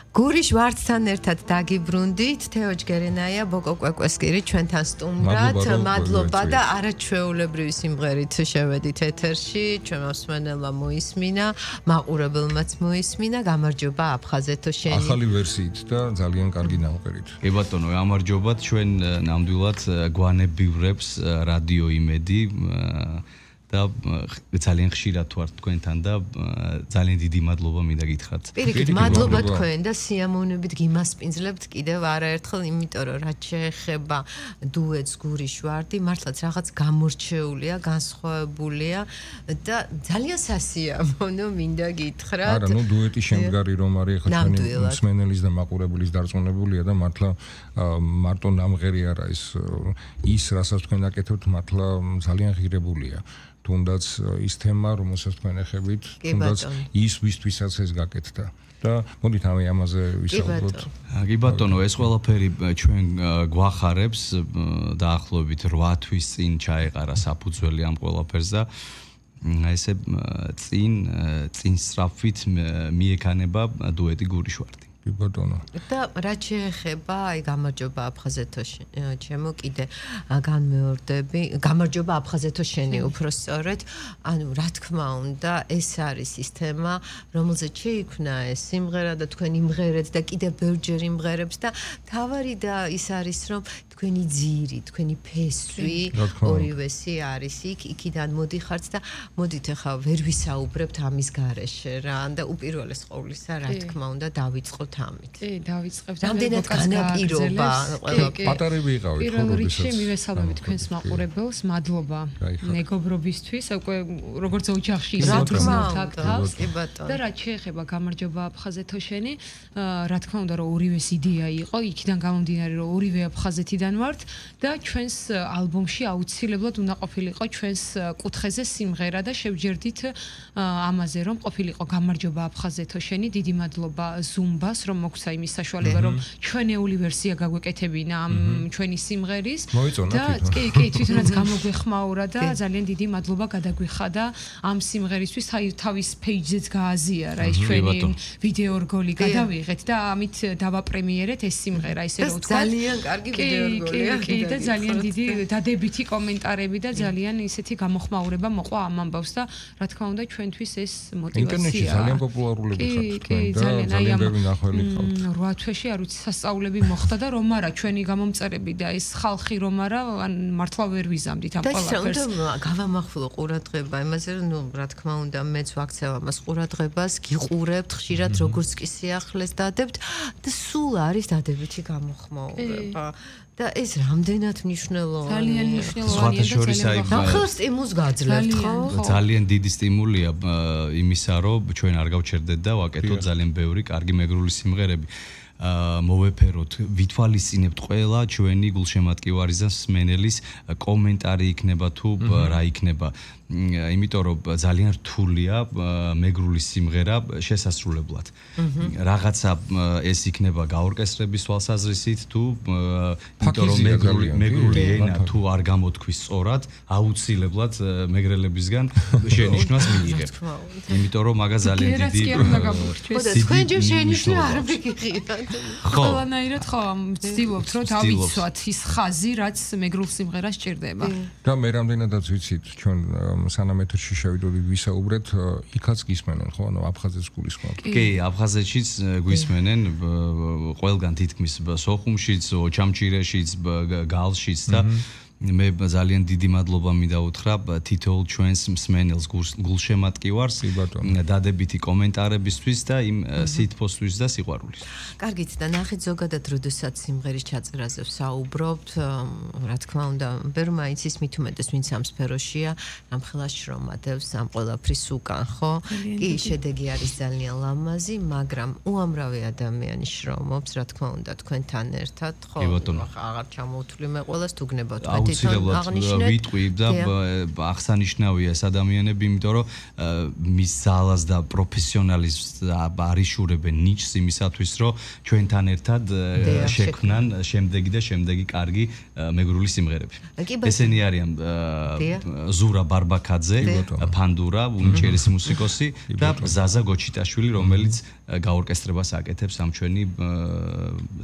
გურიშ ვარდთან ერთად დაგიბრუნდით თეო ჯგერენაია ბოკო კვეკვესკირი ჩვენთან სტუმრად მადლობა და არაჩვეულებრივი სიმღერით შევედით ეთერში ჩვენმა მსმენელმა მოისმინა მაყურებელმაც მოისმინა გამარჯობა აფხაზეთო შენი ახალი ვერსიით და ძალიან კარგი ნამღერით კი ბატონო გამარჯობათ ჩვენ ნამდვილად გვანებივრებს რადიო იმედი და ძალიან ხშირად ვართ თქვენთან და ძალიან დიდი მადლობა მინდა გითხრათ. პირიქით მადლობა თქვენ და სიამოვნებით გიმასპინძლებთ კიდევ არაერთხელ, იმიტომ რომ რაც შეეხება დუეტს გურიშ ვარდი, მართლაც რაღაც გამორჩეულია, განსხვავებულია და ძალიან სასიამოვნო მინდა გითხრათ. არა, ნუ დუეტი შემდგარი რომ არის ახლა ჩვენი მსმენელის და მაყურებლის დარწმუნებულია და მართლა მარტო ნამღერი არა ის რასაც თქვენ აკეთებთ მართლა ძალიან ღირებულია. თუნდაც ის თემა, რომელსაც თქვენ ეხებით, თუნდაც ის ვისთვისაც ეს გაკეთდა. და მოდით ამაზე ვისაუბროთ. კი ბატონო, ეს ყველაფერი ჩვენ გვახარებს დაახლოებით 8 თვის წინ ჩაეყარა საფუძველი ამ ყველაფერს და ესე წინ სწრაფით მიექანება დუეტი გურიშვარდი. კი ბატონო. და რაც შეეხება აი გამარჯობა აფხაზეთო ჩემო კიდე განმეორდები გამარჯობა აფხაზეთო შენი უფრო სწორედ ანუ რა თქმა უნდა ეს არის ის თემა რომელზეც შეიქმნა ეს სიმღერა და თქვენ იმღერეთ და კიდე ბევრჯერ იმღერებს და თავარი და ის არის რომ თქვენი ძირი, თქვენი ფესვი ორივესი არის იქიდან მოდიხართ და მოდით ახლა ვერ ვისაუბრებთ ამის გარეშე რა და უპირველეს ყოვლისა რა თქმა უნდა დავიწყოთ ამით. კი, დავიწყებთ. რამდენად განაპირობა პატარები იყავით ხო პირველ რიგში მივესალმებით თქვენს მაყურებელს, მადლობა მეგობრობისთვის, უკვე როგორც ოჯახში ისაუბრებთ თავს. და რაც შეეხება გამარჯობა აფხაზეთო შენი, რა თქმა უნდა რომ ორივეს იდეა იყო, იქიდან გამომდინარე რომ ორივე აფხაზეთიდან ვართ და ჩვენს ალბომში აუცილებლად უნდა ყოფილიყო ჩვენს კუთხეზე სიმღერა და შევჯერდით ამაზე რომ ყოფილიყო გამარჯობა აფხაზეთო შენი დიდი მადლობა ზუმბას რომ მოგცა იმის საშუალება რომ ჩვენეული ვერსია გაგვეკეთებინა ამ ჩვენი სიმღერის და კი თვითონაც გამოგვეხმაურა და ძალიან დიდი მადლობა გადაგვიხადა ამ სიმღერისთვის თავის პეიჯზეც გააზიარა ეს ჩვენი ვიდეო რგოლი გადავიღეთ და ამით დავაპრემიერეთ ეს სიმღერა ისე რომ ვთქვა ძალიან კარგი ვიდეო კი და ძალიან დიდი დადებითი კომენტარები და ძალიან ისეთი გამოხმაურება მოყვა ამ ამბავს და რა თქმა უნდა ჩვენთვის ეს მოტივაციაა. ინტერნეტში ძალიან პოპულარულები ხართ თქვენ და ძალიან ბევრი ნახველი ხართ. 8 თვეში არ ვიცი სასწაულები მოხდა და რომ არა ჩვენი გამომწერები და ეს ხალხი რომ არა ან მართლა ვერ ვიზამდით ამ ყველაფერს. და გავამახვილო ყურადღება იმაზე რომ ნუ რა თქმა უნდა მეც ვაქცევ ამას ყურადღებას გიყურებთ ხშირად როგორც კი სიახლეს დადებთ და სულ არის დადებითი გამოხმაურება. და ეს რამდენად მნიშვნელოვანია. ძალიან მნიშვნელოვანია და ძალიან ახლა სტიმულს გაძლევთ ხო? ძალიან დიდი სტიმულია იმისა, რომ ჩვენ არ გავჩერდეთ და ვაკეთოთ ძალიან ბევრი კარგი მეგრული სიმღერები. მოვეფეროთ, ვითვალისწინებთ ყველა ჩვენი გულშემატკივარისა მსმენელის კომენტარი იქნება თუ რა იქნება. იმიტომ რომ ძალიან რთულია მეგრული სიმღერა შესასრულებლად. რაღაცა ეს იქნება გაორკესტრების თვალსაზრისით თუ იმიტომ რომ მეგრული ენა თუ არ გამოთქვის სწორად, აუცილებლად მეგრელებისგან შენიშვნას მიიღებ. იმიტომ რომ მაგას ძალიან დიდი თქვენ ჯერ შენიშვნა არ მიგიღებთ. ყველანაირად ხო ვცდილობთ რომ დავიცვათ ის ხაზი რაც მეგრულ სიმღერას ჭირდება. და მე რამდენადაც ვიცით ჩვენ სანამ ეთერში შევიდოდით ვისაუბრეთ, იქაც გისმენენ ხო, ანუ აფხაზეთს გულისხმობთ. კი, აფხაზეთშიც გვისმენენ ყველგან თითქმის სოხუმშიც, ოჩამჩირეშიც, გალშიც და მე ძალიან დიდი მადლობა მინდა უთხრა თითოეულ ჩვენს მსმენელს გულშემატკივარს დადებითი კომენტარებისთვის და იმ სითბოსთვის და სიყვარულის. კარგით და ნახეთ ზოგადად როდესაც სიმღერის ჩაწერაზე ვსაუბრობთ, რა თქმა უნდა, ბევრმა იცის მით უმეტეს ვინც ამ სფეროშია, ამ ხელას შრომადევს ამ ყველაფრის უკან, ხო? კი, შედეგი არის ძალიან ლამაზი, მაგრამ უამრავი ადამიანი შრომობს, რა თქმა უნდა, თქვენთან ერთად, ხო? აღარ ჩამოვთვლი მე ყველას თუ გნებავთ აუცილებლად ვიტყვი და აღსანიშნავია ეს ადამიანები, იმიტომ რომ მის ძალას და პროფესიონალიზმს არიშურებენ ნიჭს იმისათვის, რომ ჩვენთან ერთად შექმნან შემდეგი კარგი მეგრული სიმღერები. ესენი არიან ზურა ბარბაკაძე, ფანდურა, უნიჭერესი მუსიკოსი და ზაზა გოჩიტაშვილი, რომელიც გაორკესტრებას აკეთებს ამ ჩვენი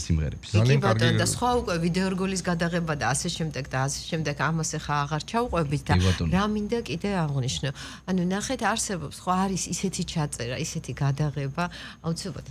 სიმღერებს. კი ბატონო, და სხვა უკვე ვიდეორგოლის გადაღება და ასე შემდეგ ამას ახლა აღარ ჩავყვებით და რა მინდა კიდე აღვნიშნო. ანუ ნახეთ, არსებობს ხო არის ისეთი ჩაწერა, ისეთი გადაღება, აუცილებლად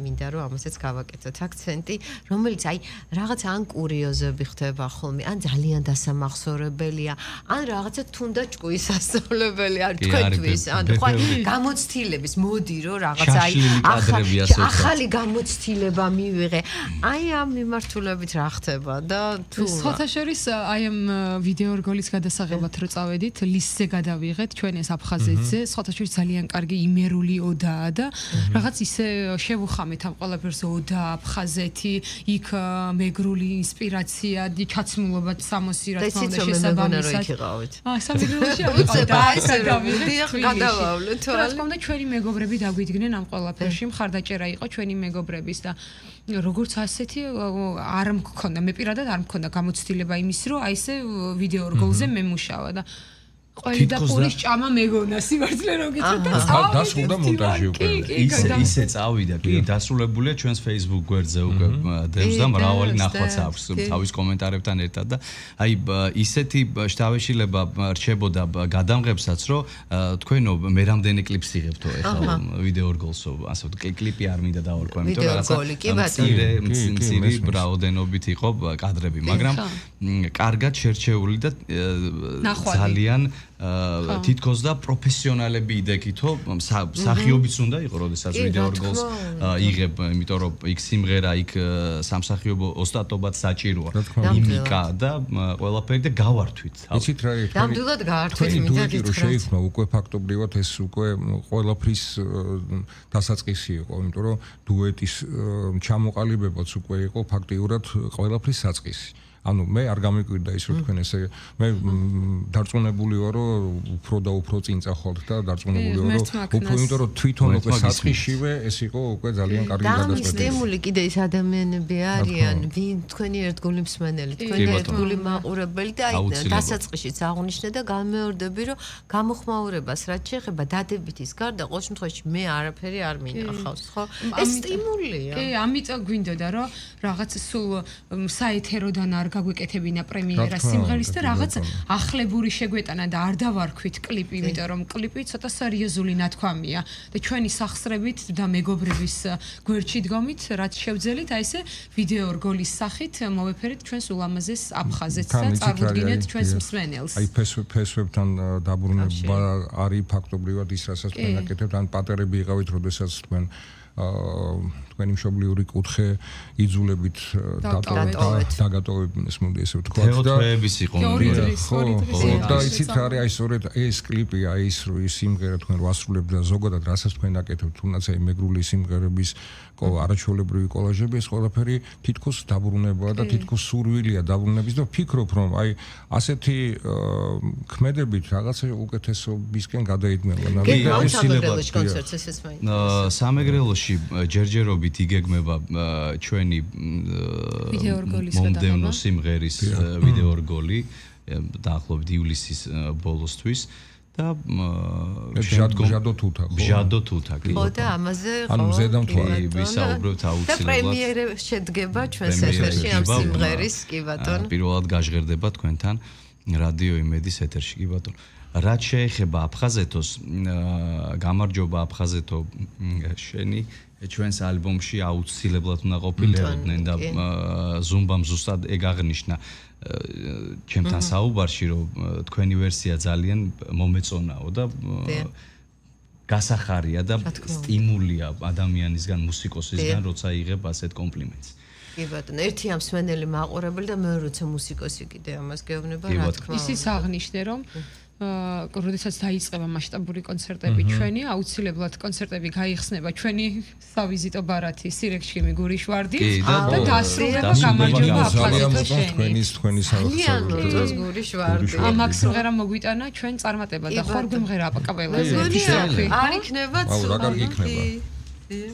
მინდა რომ ამასაც გავაკეთოთ აქცენტი, რომელიც აი რაღაც ან კურიოზები ხდება ხოლმე, ან ძალიან დასამახსოვრებელია, ან რაღაცა თუნდაც ჭკუის ასწავლებელი არ თქვენთვის, ანუ ხო გამოცდილების მოდი რომ რაღაცა აი ახალი გამოცდილება მივიღე. აი ამ მიმართულებით რა ხდება და თუ სხვათა შორის აი ამ ვიდეორგოლის გადასაღებად რო წავედით, ლისზე გადავიღეთ ჩვენ ეს აფხაზეთზე, სხვათა შორის ძალიან კარგი იმერული ოდაა და რაღაც ისე შევუხამეთ ამ ყველაფერს ოდა აფხაზეთი, იქ მეგრული ინსპირაცია, ჩაცმულობა სამოსი რა თქმა უნდა შესაბამისად. სამეგრელოში გადავავლეთ. რა თქმა უნდა ჩვენი მეგობრები დაგვიდგნენ ამ ყველაფერში, მხარდაჭერა იყო ჩვენი მეგობრების და როგორც ასეთი არ მქონდა, მე პირადად არ მქონდა გამოცდილება იმის, რომ აი ესე ვიდეორგოლზე მემუშავა და ყველი და პურის ჭამა მეგონა სიმართლე რომ გითხრათ და დასრულდა მონტაჟი უკვე. ისე წავიდა, კი, დასრულებულია ჩვენს Facebook გვერდზე უკვე დევს და მრავალი ნახვაც აქვს თავის კომენტარებთან ერთად და აი ისეთი შთავეშილება რჩებოდა გადამღებსაც, რომ თქვენო მე რამდენი კლიპს იღებთო ეხლა ვიდეორგოლსო, ასე ვთქვი, კლიპი არ მინდა დავარქვა, იმიტომ რომ მცირე რაოდენობით იყო კადრები, მაგრამ კარგად შერჩეული და ძალიან თითქოს და პროფესიონალები იდექითო მსახიობიც უნდა იყო, როდესაც ვიდეორგოლს იღებ, იმიტომ რომ იქ სიმღერა, იქ სამსახიობო ოსტატობად საჭიროა, იმიკა და ყველაფერი და გავართვით. იცით რა იყო? ნამდვილად გავართვით, მინდა გითხრათ. შეიქმნა უკვე ფაქტობრივად ეს უკვე ყველაფრის დასაწყისი იყო, იმიტომ რომ დუეტის ჩამოყალიბებაც უკვე იყო ფაქტიურად ყველაფრის საწყისი. ანუ მე არ გამიკვირდა ის რომ თქვენ ესე მე დარწმუნებული ვარ რომ უფრო და უფრო წინ წახვალთ და დარწმუნებული ვარ რომ უფრო იმიტომ რომ თვითონ უკვე საწყისშივე ეს იყო უკვე ძალიან კარგი გადაწყვეტილება. სტიმული კიდე ის ადამიანები არიან, ვინ თქვენი ერთგული მსმენელი, თქვენი ერთგული მაყურებელი და აი დასაწყისშიც აღნიშნე და გამეორდები რომ გამოხმაურებას რაც შეეხება დადებითის გარდა ყოველ შემთხვევაში მე არაფერი არ მინახავს, ხო? ეს სტიმულია. კი, ამიტომ გვინდოდა რომ რაღაც სულ საეთეროდან არ გაგვეკეთებინა პრემიერა სიმღერის და რაღაც ახლებური შეგვეტანა და არ დავარქვით კლიპი, იმიტომ რომ კლიპი ცოტა სერიოზული ნათქვამია და ჩვენი სახსრებით და მეგობრების გვერდში დგომით, რაც შევძელით, აი ესე ვიდეორგოლის სახით მოვეფერეთ ჩვენს ულამაზეს აფხაზეთს და წარუდგინეთ ჩვენს მსმენელს. აი ფესვებთან დაბრუნება არის ფაქტობრივად ის, რასაც თქვენ აკეთებთ, ან პატერები იყავით, როდესაც თქვენ თქვენი მშობლიური კუთხე იძულებით დაგატოვებინეს, მოდი ესე ვთქვათ და თეოტრეების იყო და იცით რა არის, აი სწორედ ეს კლიპი, აი ის სიმღერა თქვენ ვასრულებთ და ზოგადად რასაც თქვენ აკეთებთ, თუნდაც აი მეგრული სიმღერების არაჩვეულებრივი კოლაჟები, ეს ყველაფერი თითქოს დაბრუნებაა და თითქოს სურვილია დაბრუნების და ვფიქრობ რომ აი ასეთი ქმედებით რაღაცა უკეთესობისკენ გადაიდგმება. სამეგრელოში კონცერტს ესეც მაინტერესებს. სამეგრელოში ჯერჯერობით იგეგმება ჩვენი მომდევნო სიმღერის ვიდეორგოლი დაახლოებით ივლისის ბოლოსთვის და ბჟადო თუთა კი. ხო და ამაზე ანუ ზედამთვარე ვისაუბრებთ აუცილებლად. და პრემიერა შედგება ჩვენს ეთერში ამ სიმღერის, კი ბატონო. პირველად გაჟღერდება თქვენთან რადიო იმედის ეთერში, კი ბატონო. რაც შეეხება აფხაზეთოს, გამარჯობა აფხაზეთო, შენი ჩვენს ალბომში აუცილებლად უნდა ყოფილიყოდნენ და ზუმბამ ზუსტად ეგ აღნიშნა ჩემთან საუბარში, რომ თქვენი ვერსია ძალიან მომეწონაო და გასახარია და სტიმულია ადამიანისგან, მუსიკოსისგან, როცა იღებ ასეთ კომპლიმენტს. კი ბატონო, ერთი ამ მსმენელი მაყურებელი და მეორე როცა მუსიკოსი კიდე ამას გეუბნება, რა თქმა უნდა. ისიც აღნიშნე, რომ როდესაც დაიწყება მასშტაბური კონცერტები ჩვენი, აუცილებლად კონცერტები გაიხსნება ჩვენი სავიზიტო ბარათი, სირექშიმი, გურიშვარდი და დასრულება გამარჯობა აფხაზეთო თქვენი საერთოდ გურიშვარდი. ამაკ სიმღერა მოგვიტანა ჩვენ წარმატება და ხორ გვიმღერა აპაკაპელა. არ იქნება ცუდი. აუ რა კარგი იქნება.